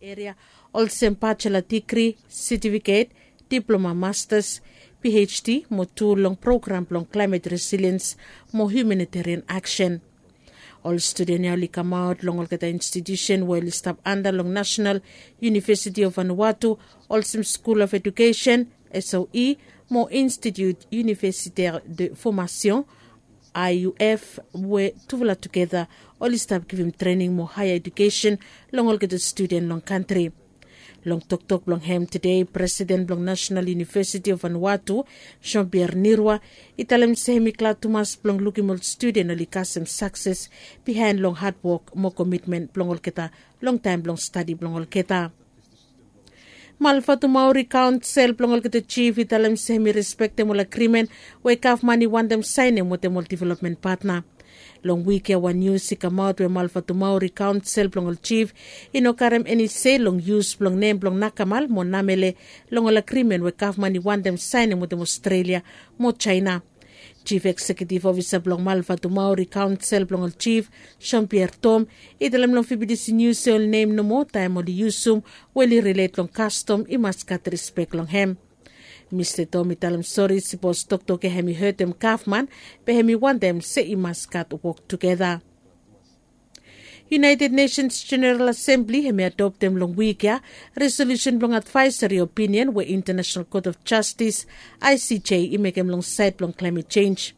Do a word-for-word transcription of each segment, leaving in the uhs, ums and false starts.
Eria olsem bachelor digri, setifiket, diploma, masters, phd mo tu long program blong klaemet resiliens mo humanitarian aksen. Ol studen ya oli kamaot long olgeta institiusen we oli stap anda long nasenal yunivesiti of vanuatu, olsem skul of edukesen, soe, mo institut universitaire de formation, iuf, we tufala tugeta oli stap givim trening mo haea edukesen long olgeta studen long kantri. Long toktok blong hem tede, presiden blong nasenal yunivesiti of vanuatu, jean pierre nirwa, i talem se hem i glad tumas blong lukim ol studen oli kasem sakses bihaen long hadwok mo komitmen blong olgeta long taem blong stadi blong olgeta. Malvatumauri kaonsel blong olgeta jif i talem se hem i respektem ol agrimen we gavman i wantem saenem wetem ol developmen patna. Long wik ya wan nius i kamaot we malvatumauri kaonsel blong ol jif i no karem eni se long yus blong nem blong nakamal mo namele long ol agrimen we gavman i wantem saenem wetem aostrelia mo jaena. Jif eksekitiv ofisa blong malvatumauri kaonsel blong ol jif, jean pierre tom, i talem long fibidisi nius se ol nem nomo taem oli yusum we oli rilet long kastom i mas gat rispek long hem. Mista tom i talem sori sipos toktok ya hem i hetem gavman, be hem i wantem se i mas gat wok tugeta. United nations general asembli hem i adoptem long wik ya resolusen blong advaesari opinion we internasenal kot of jastis, icj, i mekem long saed blong klaemet jenj.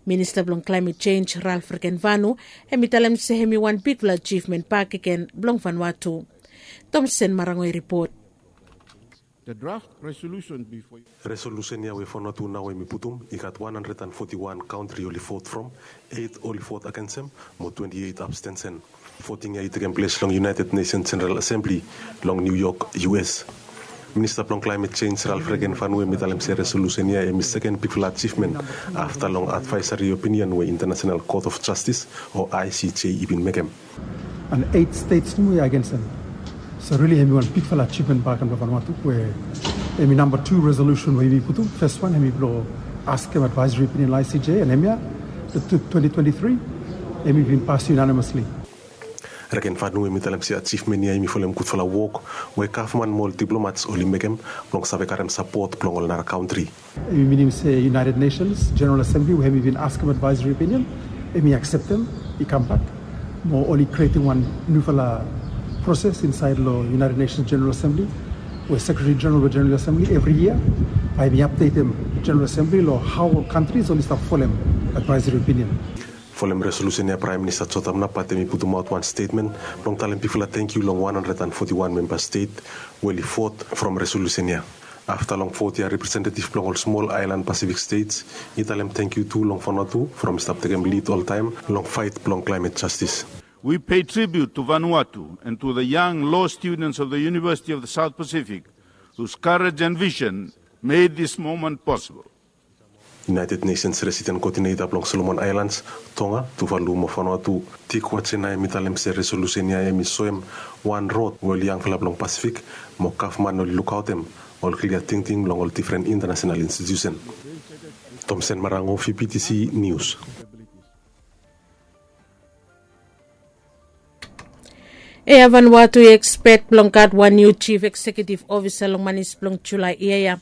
Minista blong klaemet jenj ralf regenvanu hem i talem se hem i wan bigfala ajivmen bakegen blong vanuatu. Tomsen marango i ripot. Resolusen ya we vanuatu nao hem i putum i gat wan handred an foti wan kantri oli vot from, eit oli vot agensem, mo twenti eit abstensen. Voting ya i tekem ples long united nations general asembli long new york, us. Minista blong klaemet jenj ralf regenvanu hem i talem se resolusen ya hem i seken bigfala ajivmen afta long advaesari opinion we internasenal kot of jastis o icj i bin mekem. An eit stets nomo i agens hem. So rili hem i wan bigfala ajivmen bak long vanuatu we hem i namba tu resolusen we hem i putum. Fes wan hem i blong askem advaesari opinion long icj an hem ya, twenti twenti tri, hem i bin pas unanimosli. Regenvanu hem i talem se ajivmen ya hem i folem gudfala wok we gavman mo ol diplomats oli mekem blong save karem sapot blong ol nara kantri. Hem i minim se united nations general asembli we hem i bin askem advaesari opinion, hem i akseptem i kambak, mo oli krietem wan niufala proses insaed long united nations general asembli we sekretari jeneral blong jeneral asembli evri yia bae hem i apdetem jeneral asembli long hao ol kantris oli stap folem advaesari opinion. Folem resolusen ya praem minista jotam napat hem i putumaot wan stetmen blong talem bigfala tangkiu long wan handred an foti wan memba stet we oli vot from resolusen ya. Afta long vot ya representetiv blong ol smol aelan pasifik stets i talem tangkiu tu long vanuatu from i stap tekem lid oltaem long faet blong klaemet jastis. We pay tribute to Vanuatu and to the young law students of the University of the South Pacific, whose courage and vision made this moment possible. United nations resident koodineta blong solomon aelans, tonga, tuvalu mo vanuatu, tik watsena hem i talem se resolusen ya hem i soem wan rod we ol yangfala blong pasifik mo gavman oli lukaotem ol klia tingting long ol difren intanasenal institiusen. Tomsen marango, vptc nius. Ea vanwatu i ekspek blong gat wan niu jif eksekiutiv ofisa long manis blong julai yia ya.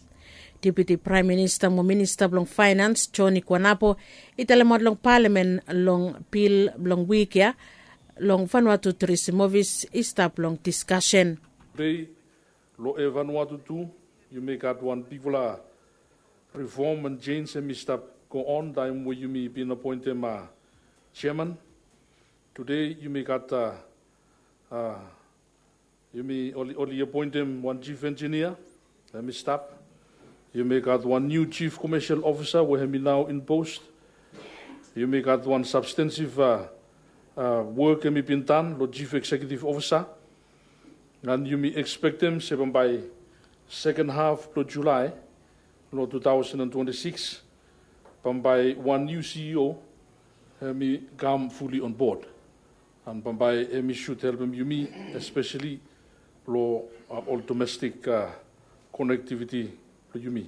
Deputi praem minista mo minista blong faenans joni kuanapo i talemaot long palamen long bil blong wik ya long vanwatu turisim ofis i stap long diskasen. Long evanwatu tu yumi gat wan bigfala rifom and jens hem i stap go on taem we yumi bin apoentem jeman. Tude yumi gat a yumi oli apoentem wan jif enjinia hem i stap. Yumi gat wan niu jif komesel ofisa we hem i nao inpost. Yumi gat wan sabstensif wok hem i bin tan long jif eksekiutiv ofisa. An yumi ekspektem se bambae seken haf blong julae long tu taosen an twenti sikis bambae wan niu ceo hem i kam fuli onbod. An bambae hem i sud helpem yumi espeseli long ol domestik konektiviti blong yumi.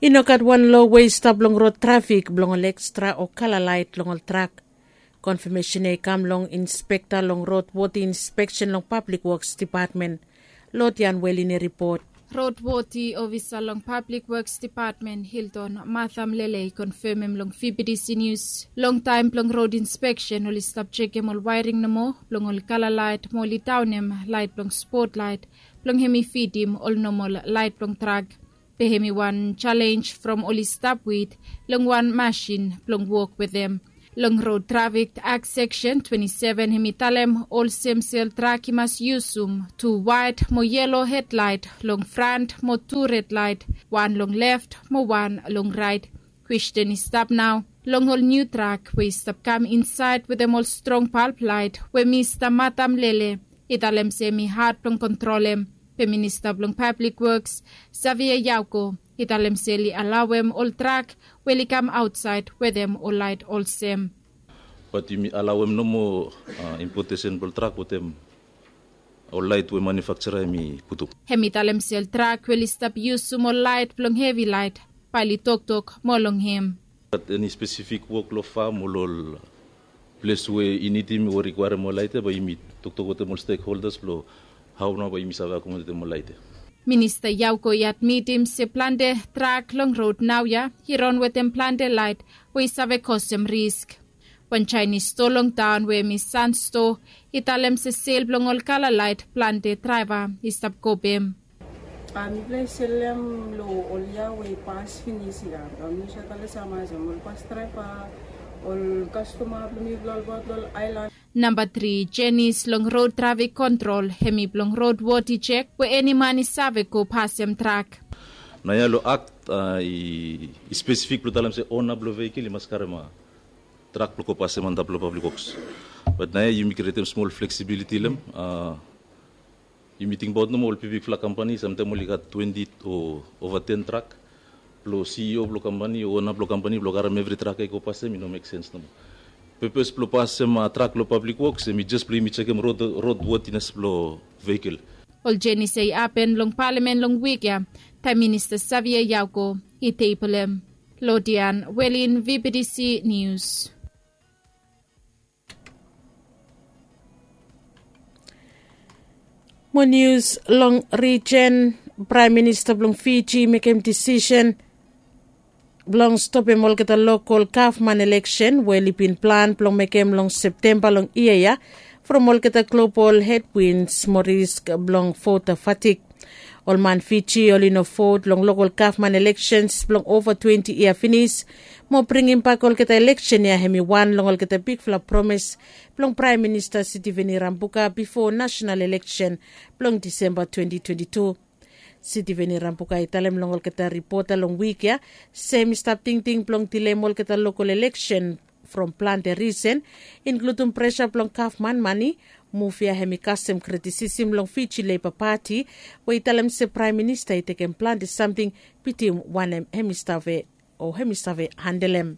I no gat wan lo we i stap long rod trafik blong ol ekstra o kala lait long ol trak. Konfamesen ya i kam long inspekta long rod woti inspeksen long pablik woks depatmen. Lodian welin i ripot. Rod woti ofisa long pablik woks depatmen hilton matham lele i konfamem long fibidisi nius long taem blong rod inspeksen oli stap jekem ol waering nomo blong ol kala lait mo oli daonem lait blong spot lait blong hem i fidim ol nomol lait blong trak. Be hem i wan jalenj from oli stap wit long wan masin blong wok wetem. Long rod trafik akt seksen twenti seven hem i talem olsem se ol trak i mas yusum tu waet mo yelo hedlait long fran mo tu redlait, wan long lef mo wan long rait. Kwesten i stap nao long ol niu trak we i stap kam insaed wetem ol strong palp lait we mista matam lele i talem se hem i had blong kontrolem. Be minista blong pablik woks savia yauko i talem se oli alaoem ol trak we oli kam aotsaed wetem ol lait olsem. Bat yumi alaoem nomo impotesen blong trak wetem ol lait we manufaksera hem i putum. Hem i talem se ol trak we oli stap yusum ol lait blong hevi lait bae oli toktok moa long hem. Gat eni spesifik wok long fam o long ol ples we i nidim o rikwaerem ol lait ya bae yumi toktok wetem ol stekholdas blong hao nao bae yumi save akomodetem ol lait ya. Minista yauko i admitim se plante trak long rod naoia i ran wetem plante lait we i save kosem risk. Wan jaenis stoa long taon we hem i sanstoa i talem se sel blong ol kala lait plante draeva i stap go bem. Mipela i selem long ol yia we i pas finis ya. Mipela i save talem se ol pas draeva, ol kastoma blong mipela ol bot long aelan. Namba tri jenis long rod trafik kontrol hem i blong rod wot i jek we eni man i save go pasem trak. Naoia long akt i spesifik blong talem se ona blong veikol i mas karem trak blong go pasem antap long pablik woks. Bat naoia yumi krietem smol fleksibiliti long hem. Yumi tingbaot nomo ol bigbigfala kampani samtaem oli gat twenti o ova ten trak. Blong CEO blong kampani o ona blong kampani blong karem evri trak ya i go pasem i no mek sens nomo. Pepes blong pasem trak long pablik woks hem i jes blong yumi jekem rod wotines blong veikol. Ol jenis ya i hapen long palamen long wik ya taem minista savia yauko i tebolem. Lodian welin vptc nius. Mo nius long rijen, praem minista blong fiji i mekem disisen blong stopem olgeta lokol gavman eleksen we oli bin plan blong mekem long septemba long yia ya from olgeta global hedwins mo risk blong vota fatik. Ol man fiji oli no vot long lokol gavman eleksens blong ova twenti yia finis mo bringimbak olgeta eleksen ya hem i wan long olgeta bigfala promes blong praem minista sitiveni rambuka bifo nasenal eleksen blong disemba twenti twenti tu. Sitiveni rambuka i talem long olgeta ripota long wik ya se hem i stap tingting blong dileim olgeta lokol eleksen from plante risen, inkludum presa blong gavman mane. Muv ya hem i kasem kritisim long fiji leba pati we i talem se praem minista i tekem plante samting bitim wanem hem i save o hem i save handelem.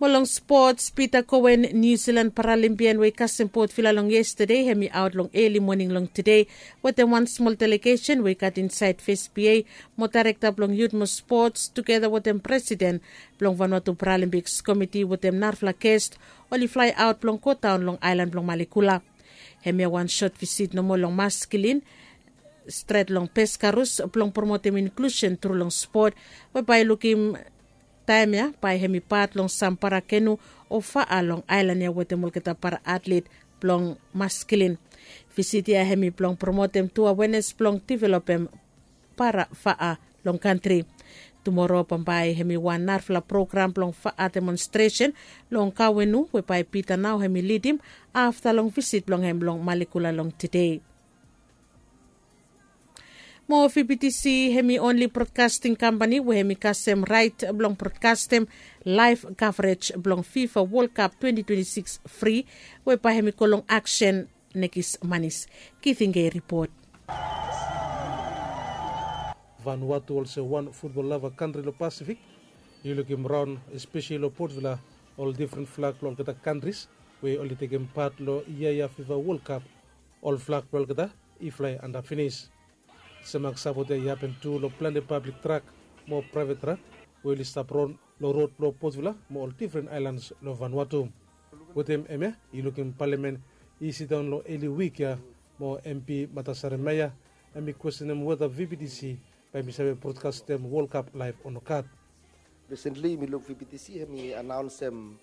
Mo long spots, pita koen niu silan paralimpian we i kasem potvila long yestade hem i aot long eli moning long tede wetem wan smol delegesen we i gat insaed fes pa mo daerekta blong yut mo spots tugeta wetem presiden blong vanwatu paralimpiks komiti wetem narafala gest oli flaeaot blong godaon long aelan blong malekula. Hemia wan sot visit nomo long maskilin stret long peskarus blong promotem inklusen tru long spot we bae i lukim taem ya bae hem i pat long sam para kenu o faa long aelan ya wetem olgeta para atlet blong maskilin. Visit ya hem i blong promotem tu awenes blong developem para faa long kantri. Tumora bambae hem i wan narafala program blong faa demonstresen long kawenu we bae pita nao hem i lidim afta long visit blong hem long malekula long tede. Mo vptc hem i onli brodkasting kampani we hem i kasem raet blong brodkastem laef kavrej blong fifa wol kap twenti twenti sikis fri we bae hem i go long aksen. Nekis manis. Giving a ripot. Vanuatu olsem wan futbol lava kantri long pasifik, yu lukim raon espeseli long potvila ol difren flag blong olgeta kantris we oli tekem pat long yia ya fifa wol kap. Ol flag blong olgeta i flae antap finis. Semak sapot ya i hapen tu long plante pablik trak mo praevet trak we oli stap ron long rod blong Potvila mo ol difren aelans long Vanuatu. Wetem hemia i lukim palamen i sidaon long eli wik ya mo MP Matasare Meya hem i kwestenem weta VBTC bae hem i save brotkastem World Cup laef o nogat. Recently mi luk VBTC hem i anaonsem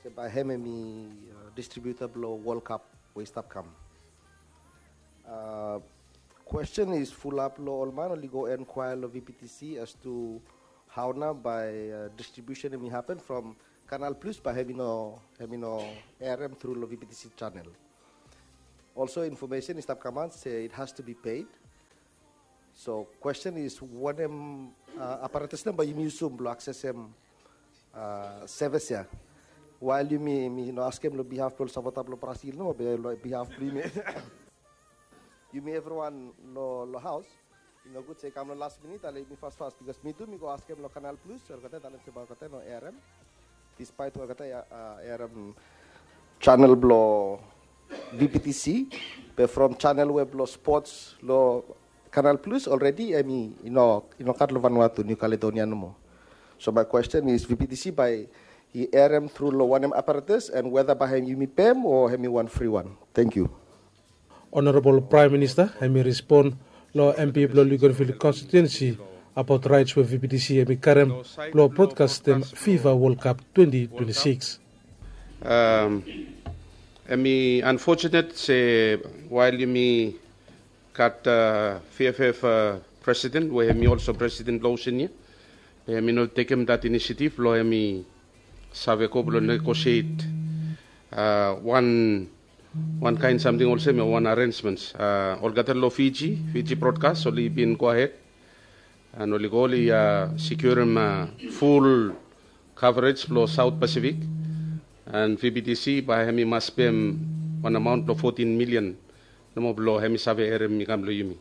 se bae hem hem i distribiuta blong World Cup we i stap kam. Kwesten is fulap long ol man oli go enkwaea long VBTC as to hao nao bae distribiusen hem i hapen from Kanal Plus bae hem i no hem i no erem tru long VBTC chanel. Olso infomesen i stap kamaot se it has to be paid. So kwesten is wanem aparatas nao bae yumi yusum blong aksesem sevis ya? Wael yumi mi no askem long bihaf blong ol sapota blong Brasil nomo be long bihaf blong yumi. Yumi evriwan long haos i nogud se i kam long las minit ale yumi fasfas bikos mi tu mi go askem long Kanal Plus olgeta talem se bae olgeta no erem. Dispaet we olgeta erem chanel blong VBTC be from chanel we blong spots long Kanal Plus olredi hem i no gat long Vanuatu, New Caledonia nomo. So my kwesten is VBTC bae i erem tru long wanem aparatas and weta bae hem yumi pem o hem i wan fri wan? Tengiu. Onorabol Praem Minista hem i respon long MP blong Luganville konstitiuensi abaot raets we VBTC hem i karem blong brotkastem FIFA World Cup twenti twenti sikis. Hem i anfotunet se wael yumi gat VFF presiden we hem i olso presiden blong Oseania, be hem i no tekem dat inisiativ blong hem i save go blong negosiet wan wan kaen samting olsem ya wan arensmens. Olgeta long Fiji, Fiji Broadcast oli bin goahed and oli go oli sikurim ful kavrej blong Saot Pasifik. And VBTC bae hem i mas pem wan amaon blong fotin milian nomo blong hem i save erem i kam long yumi.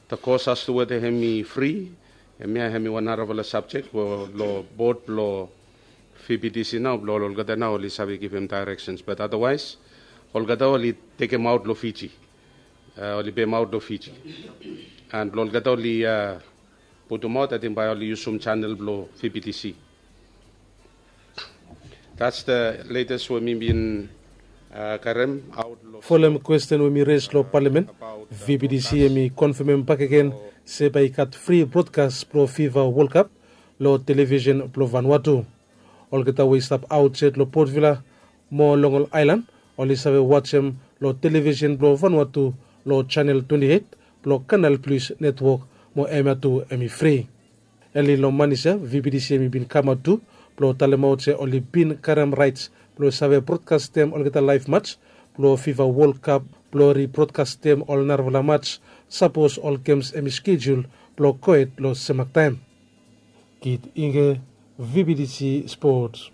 Takos as tu weta hem i fri, hemia hem i wan narafala sabjek we long bod blong VBTC nao blong olgeta nao oli save givim daereksens, bat adawaes olgeta oli tekemaot long Fiji. Oli pemaot long Fiji and blong olgeta oli putumaot ating bae oli yusum chanel blong VBTC. Dats the letes we mi bin karem aot long folem kwesten we mi res long palamen. VBTC hem i konfemem bakegen se bae i gat fri brodkas blong FIFA World Cup long televisen blong Vanuatu. Olgeta we i stap aotsaed long Potvila mo long ol aelan oli save wajem long televisen blong Vanuatu long chanel twenti eit blong Kanal Plus netwok mo hemia tu hem i fri. Eli long manis ya VBTC hem i bin kamaot tu blong talemaot se oli bin karem raets blong save brodkastem olgeta laef mats blong FIFA World Cup blong ribrodkastem ol narafala mats sapos ol gems hem i skejul blong gohed long semak taem. Kit Inge, VBTC Sports.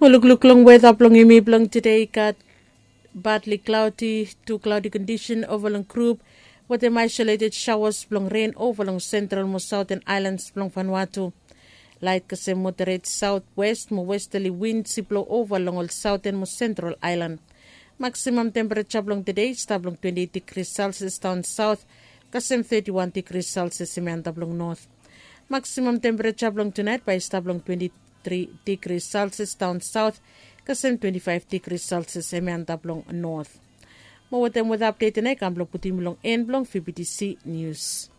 Mo lukluk long weta blong yumi blong tede i gat badli klaudi tu klaudi kondisen ova long grup wetem aisoleted saoas blong ren ova long sentral mo saoten aelans blong Vanuatu. Lait kasem moderet saotwes mo westali wins i blo ova long ol saoten mo sentral aelan. Maksimam tempereja blong tede i stap long twenti eit digri selsias daon saot kasem teti wan digri selsias hemi antap long not. Maksimam tempereja blong tunaet bae i stap long twenti tri digri selsias daon saot kasem twenti faef digri selsias hemi antap long not. Mo wetem weta apdet ya nao i kam blong putum long en blong VBTC nius.